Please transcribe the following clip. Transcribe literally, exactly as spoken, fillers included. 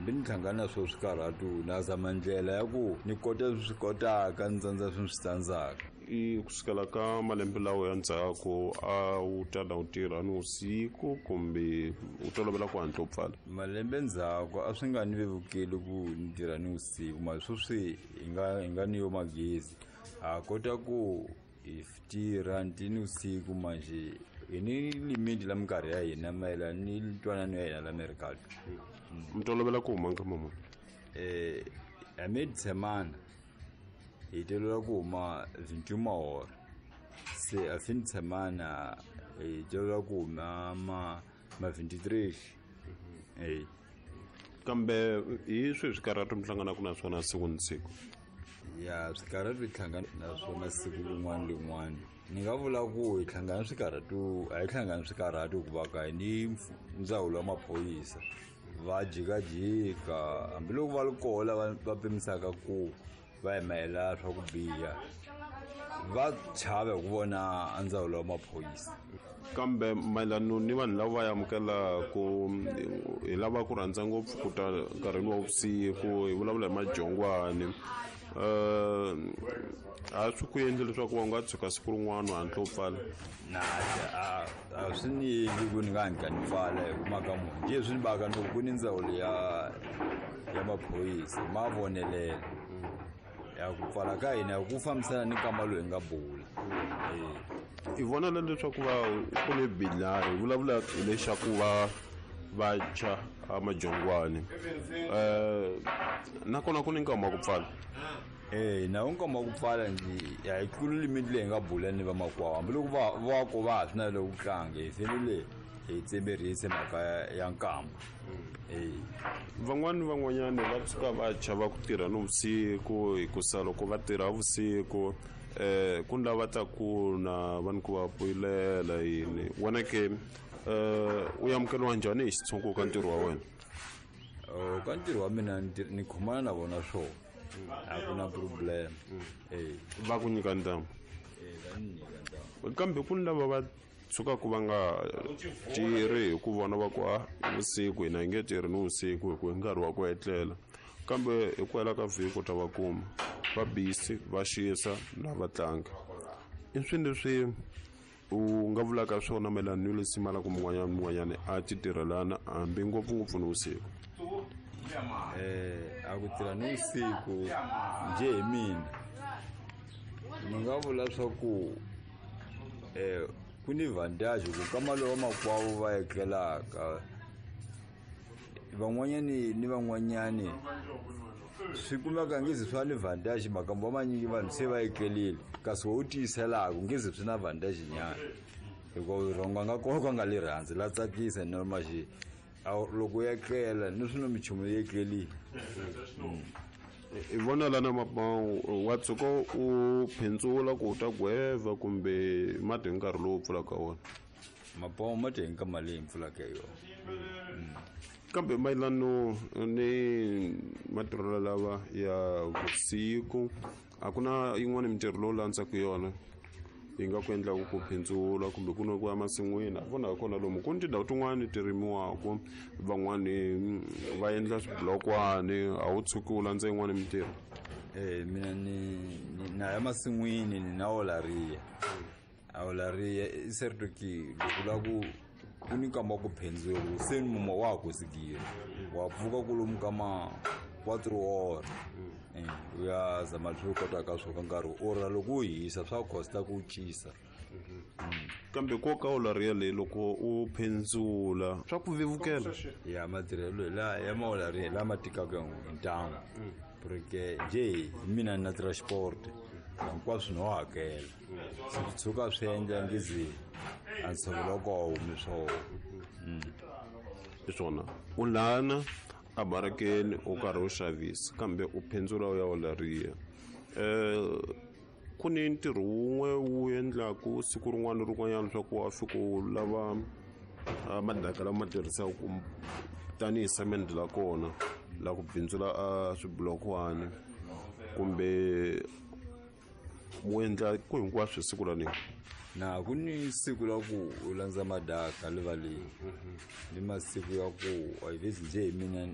Hambi ni hlangana na swo swikarhatu na zama ndlela ya ku ni kota swi kotaka ni tsandza swi swi tsandzaka. I kusukela ka malembe lawa ya ndzhaku a wu tala u tirha ni vusiku kumbe u tolovela ku hatla u pfala? Malembe ndzhaku a swi nga ni vevukeli ku ni tirha ni vusiku, mara sweswi hi nga hi nga ni yo magezi ha kota ku hi tirha ni vusiku manje hi ni limiti la minkarhi ya hina mayelana ni ntwanano ya hina la America. Mi tolovela ku huma nkama muni? Eh a semana hi tolovela ku huma vintiuma hora, se a fin de semana hi tolovela ku huma ma ma vintitrês. Eh kambe hi swihi swikarhatu mi hlanganaka na swona siku ni siku? Ya swikarhatu hi hlangana na swona siku rin'wana rin'wana. Ni nga vula ku hi hlangana swikarhatu, a hi hlangani swikarhatu hikuva ka hi ni ndzawulo wa maphorisa va jikajika, hambiloko va ri kona lava va pimisaka ku va hi mayelana swa ku biha va chava hi ku vona ndzawulo wa maphorisa. Kambe mayelano ni vanhu lava va amukelaku hi lava ku rhandza ngopfu ku ta nkarhini wa vusiku, hi vulavula hi majongwani, um a swi ku endli leswaku va nga tshuka siku rin'wana u hatla u pfala? Na a a swi ni endli ku ni nga hatla ni pfala hi ku mhaka muni njhe swi ni baka ni ku ni ndzawulo ya ya maphorisa ma vonelela ya ku pfala ka hina ku fambisana ni nkama lowu hi nga bula. I vona na leswaku va ku ni bidlari hi vulavula hi lexaku va va tshwa a majongwani, um nakona ku ni nkama wa ku pfala? Eh na nkama wa ku pfala nje a hi tluli limiti leyi hi nga bula ni vamakwavo, hambiloko va va ko va ha swi navela ku tlanga hi fanele hi tsemerise mhaka ya nkama. Eh van'wani ni van'wanyani va tshuka va chava ku tirha nivusiku hikusa loko va tirha vusiku eh ku ni lava ta ku na va ni ku va poyilela yini. Wena ke eh u amukeriwa njhani hi xitshungu ka ntirho wa wena? Ka ntirho wa mina ni khomana na vona swona, a ku na problem. Eh va ku nyika ntamu? Eh va ni nyika ntamu. Kambe ku ni lava va tshukaku va nga tirhi hi ku vona va ku a vusiku hina hi nge tirhi ni vusiku hi ku hi nkarhi wa ku etlela, kambe hi ku hela ka vhiki u ta va kuma va busy va xisa na va tlanga. I swilo leswi u nga vulaka swona mayelana ni leswi malaka mun'wanyana ni mun'wanyana a ti tirhelana hambi ngopfungopfu ni vusiku? Eh a ku tirha ni vusiku njhe hi mina ni nga vula swa ku eh ku ni vantage ku kama lowa makwavo va etlelaka van'wanyani ni van'wanyani swi kumeka ngezi swa ni vantage makambo manyingi vanhu se va etlelile, kasi wo tiyiselaka ngezi swi na vantage nyana hikuva rhongo nga kona ka nga le rhandzi la tsakisa normal xi loko ya etlela ni swi no minchumu yi etlelile. I vona lana mapawu wa tshuka u phindzula ku u ta gweva kumbe mati hi nkarhi lowu pfulaka wona? Mapawu ma ti hi nkama leyi pfulaka hi yona. Kambe mayelano ni matirhelo lava ya vusiku a ku na yin'wana mintirho lowu landzaka yona yi nga ku endlaku ku phindzula kumbe ku na ku ya masin'wini? A vona kona lomu ku ni tindhawu tin'wani ti rimiwaka, van'wani va endla swibulokwani, a wu tshuki u landza yin'wani mintirho? Eh mina ni na ya masin'wini ni na olaria. A olaria i certo ki loko la ku ku ni nkama wa ku phindzula se ni mumo wa ha kosikile wa pfuka kwalomu ka ma quatro hora u ya zama leswi u kotaka swo ka nkarhi ora loko u hisa swa costa ku cisa. Kambe nkoka wa olaria leyi loko u phindzula swa ku vevukela? Ya matirhelo la ya maolaria lama tikaka hi ntamu porque njhe hi mina ni na transport hinkwaswo no hakela swi tshuka swi endla ngezi a ntshovelo wa koho humi swona. Hi swona u lana a barakeni u karhi u xavisa kambe u phindzula u ya olaria. Eh ku ni ntirho wun'we wu endlaku siku rin'wana ni rin'wanyana leswaku wa fika u lava madaka lama ma tirhisaka tanihi semende la kona la ku bindzula a swibulokwani kumbe mu endla ku hinkwaswo siku ra nini? Na ku ni siku la ku u landza madaka rivaleni ni masiku ya ku a hi vezi njhe hi mina